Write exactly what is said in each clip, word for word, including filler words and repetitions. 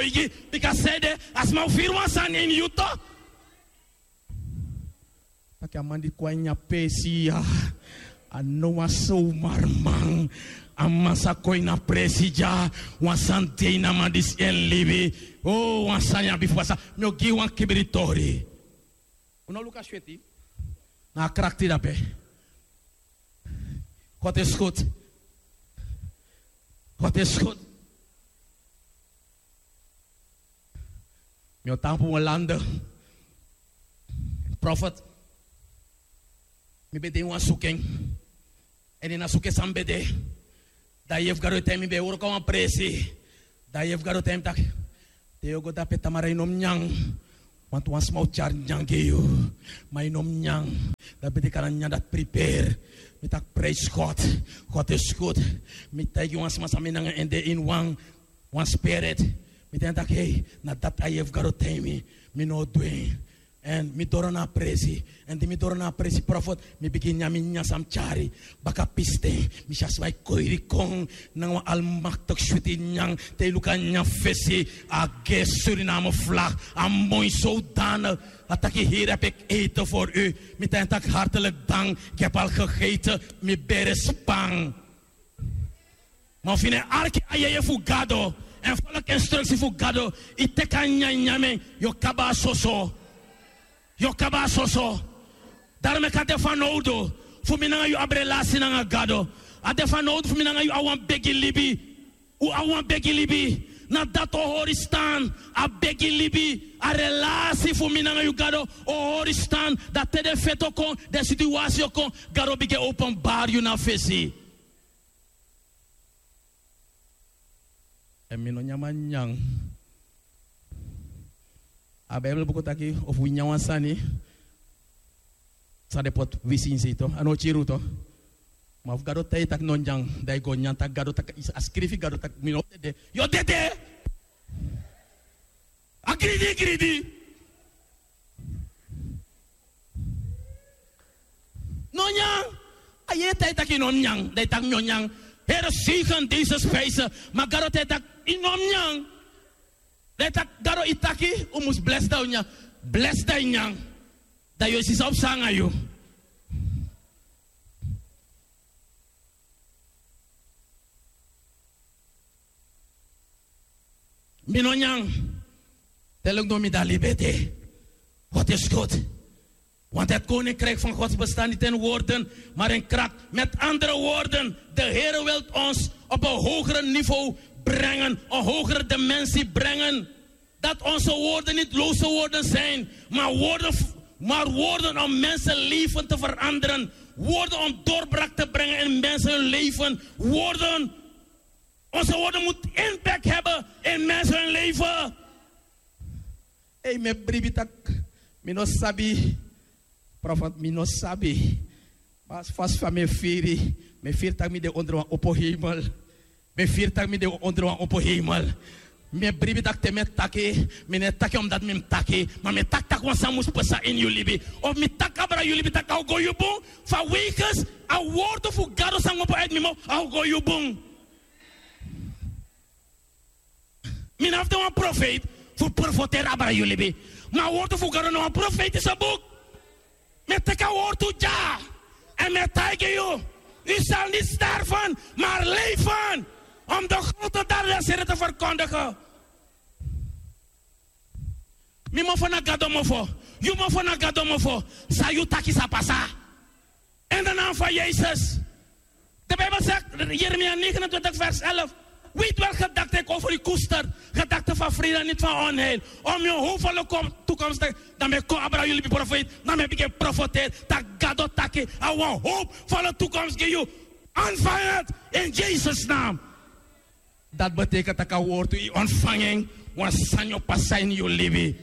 Bigi, bika sede, a sma o firi wan sani ini yu tu. Taki a man di kon na a presi ya, a no wan somarman. A man sa kon na a presi dya, wan sani de ini a man disi en libi. O, wan sani abi fu pasa. Mi o gi wan kibri tori. Un no luku a sweti. Na a krakti dape. God is goed. God is goed. Mi o tampu wan lande. Profet. Mi ben de ini wan suku en. Èn ini a suku san mi ben de. Dan a yeye fu Gado taigi mi, mi ben e wroko a wan presi. Dan a yeye fu Gado taigi mi taki, te yu o go dape tamara yu no mus nyan. Want wan sma o tyari nyan gi yu. Ma yu no mus nyan. Dan a ben teki a nyan dati prepare. Mi taki praise God. God is good. Mi taigi wan sma san mi nanga en de ini wan, wan spirit. Mi taigi en taki, hei, na dati a yeye fu Gado taigi mi. Mi no o du en. Èn mi doro na a presi. Èn di mi doro na a presi, profet, mi bigin nyan mi nyan san mi tyari. Baka pisten, mi si a sma e koiri kon nanga wan almaktigi switi nyan. Te yu luku a nyan fesi, a gi Suriname vlag, a moi zodanig. A taki, hier heb ik eten voor u. Mi taigi en taki, hartelijk dank, ik heb al gegeten, mi bere span. Ma efu yu no e arki a yeye fu Gado èn folg instruksi fu Gado, yu teki a nyanyan, yu o kaba a soso. Yu o kaba a soso. Daarom meki a de fanowdu fu mi nanga yu abi relasi nanga Gado. A de fanowdu fu mi nanga yu abi wan begi libi. Un abi wan begi libi. Na dati o hori stan. A begi libi, a relasi fu mi nanga yu Gado o hori stan. Dan te den feti o kon, den situwasi o kon, Gado bigin e openbari yu na fesi. Èn mi no nyan mi nyan. A Bijbel buku taki, efu wi nyan wan sani san den poti wisi ini sei tu, a no o kiri unu tu. Ma efu Gado taigi yu taki no nyan, dan yu go nyan, taki Gado taki, a skrifi, Gado taki mi no o dede. Yu o dede. A gridi, gridi. No nyan. A yeye taigi yu taki yu no mus nyan, dan yu taki mi o nyan. Here, zegen deze spijzen. Ma Gado taigi yu taki yu no mus nyan. Dan yu taki, Gado, yu taki un mus blesi dan un nyan. Blesi dan yu nyan. Dan yu o si san o psa nanga yu. Mi no nyan. Te luk no mi dati libi ete. Wat is God? Want het koninkrijk van God bestaat niet in woorden, maar in kracht. Met andere woorden, de Heer wil ons op een hoger niveau brengen, een hogere dimensie brengen. Dat onze woorden niet loze woorden zijn, maar woorden, maar woorden om mensenleven te veranderen. Woorden om doorbraak te brengen in mensen hun leven. Woorden, onze woorden moeten impact hebben in mensen hun leven. Ei, mi e bribi taki mi no sabi. Profet, mi no sabi. Ma fasi fa mi e firi, mi e firi taki mi de onder wan opo hemel. Mi e firi taki mi de onder wan opo hemel. Mi e bribi taki te mi e taki, mi no e taki omdat mi mus taki, ma mi e taki taki wan sani mus pasa ini yu libi. Of mi taki abra yu libi taki a o go yu bun, fa wegens a wortu fu Gado san opo uit mi mouth, a o go yu bun. Mi no abi de wan profeiti fu profeteri abra yu libi. Ma a wortu fu Gado na wan profeitise buk. Mi e teki a wortu dya. Èn mi e taigi yu, u zal niet sterven, maar leven. Om de grote daden des Heren te verkondigen. Mi mofo na Gado mofo. Yu mofo na Gado mofo. San yu taki sa pasa. In de naam van Jezus. De Bijbel zegt, Jeremia negenentwintig vers elf. Weet welke gedachten ik over u koester. Gedachten van vrede, niet van onheil. Om uw hoopvolle kom-, toekomst te, dan ben ik kon abra jullie profeet. Dan ben ik een profeet. Dat Gado taki, a wan hoopvolle toekomst gi yu. Ontvang het in Jezus' naam. Dat betekent taki a wortu yu ontvangen, wan sani o pasa ini yu libi.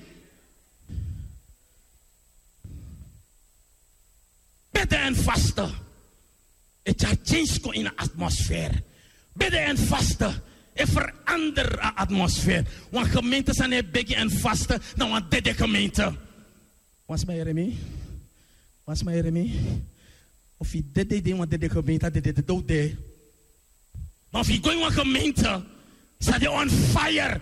Bidden en vasten e tyari change kon ini a atmosfeer. Bidden en vasten e verander a atmosfeer. Wan gemeente san no e begi en vasten na wan dede gemeente. Wan sma yere mi? Wan sma yere mi? Efu yu dede, yu de ini wan dede gemeente, a dede dede un de. Ma efu yu go ini wan gemeente san de on fire,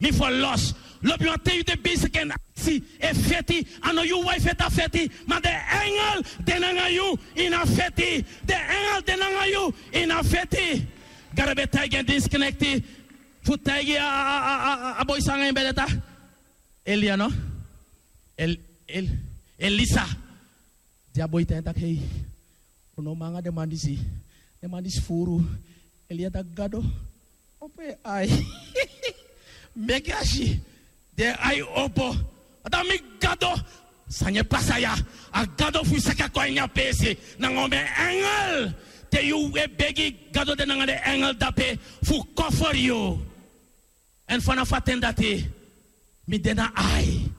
Mi ferlos. Lobi wan ten yu de besik en aksi e feti. A no yu wan e feti a feti, ma den engel de nanga yu ini a feti. Den engel de nanga yu ini a feti. Gado ben taigi en dinsknekti fu taigi a boi san nanga en ben de ta. Elia no? Elisa. Di a boi tan en taki hei, unu no man nanga den man disi. Den man disi furu. Elia taki gado, opo en ai. Meki a si. Den ai opo. A taki mi gado. San yu e pasa ya? A gado fu yu saka kon a ini a pesi nanga omen engel. Te yu e begi, gado de nanga den engel dape fu koferi yu. Èn fanafu a ten dati mi de na ai.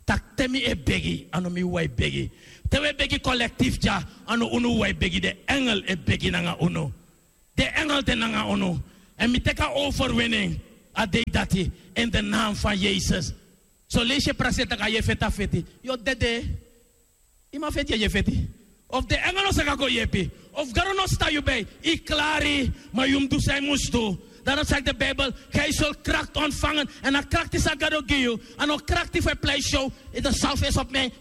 Taki te mi e begi, a no mi wan e begi. Te wi e begi kolektif dya, a no unu wan e begi, den engel e begi nanga unu. Den engel de nanga unu. Èn mi teki a overwinning a dei dati in de naam van Yesus. Son leisi e prakseri taki a yu e feti a feti, yu o dede. Yu man feti yu e feti. Of den engel no saka kon yepi, of gado no stan yu bei, yu klari. Ma yu mus du san yu mus du. Dati no saki de bibel, gei sul krakti ontfangen. Èn a krakti san gado gi yu, a no krakti fu e pleisi yu. Yu de salfesi op mi.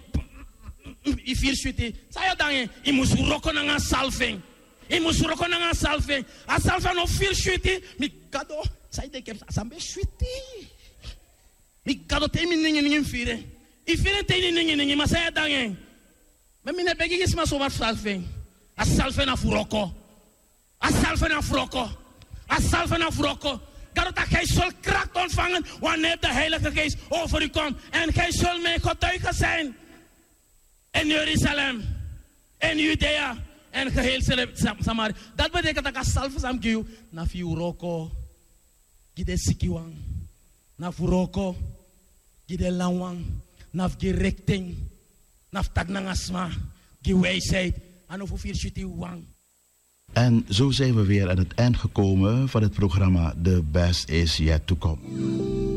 Yu firi switi. San yu o dangi? Yu mus wroko nanga a salfing. Yu mus wroko nanga a salfing. A salfing a no firi switi. Mi gado, san yu denki a san ben switi? Mi gado te yu mi ningi ningi mi firi en. Yu firi en te yu ni ningi ningi ma san yu e dangi en? Ma mi no e begi gi sma somar fu salfing. A salfing na fu wroko. A salfing na fu wroko. A salfing na fu wroko. Gado taki gei sul krakti ontfangen wanneer de heilige geest over yu kom. Èn gei sul mi getuige sin in Jerusalem, in Judea, en geheel Samaria. Dati betekent taki a salfing san mi gi yu na fu yu wroko gi den sikiwan, na fu wroko gi den lanwan, na fu gi rekting, na fu taki nanga sma, gi wijsheid. A no fu firi switi wan. En zo zijn we weer aan het eind gekomen van het programma The Best Is Yet To Come.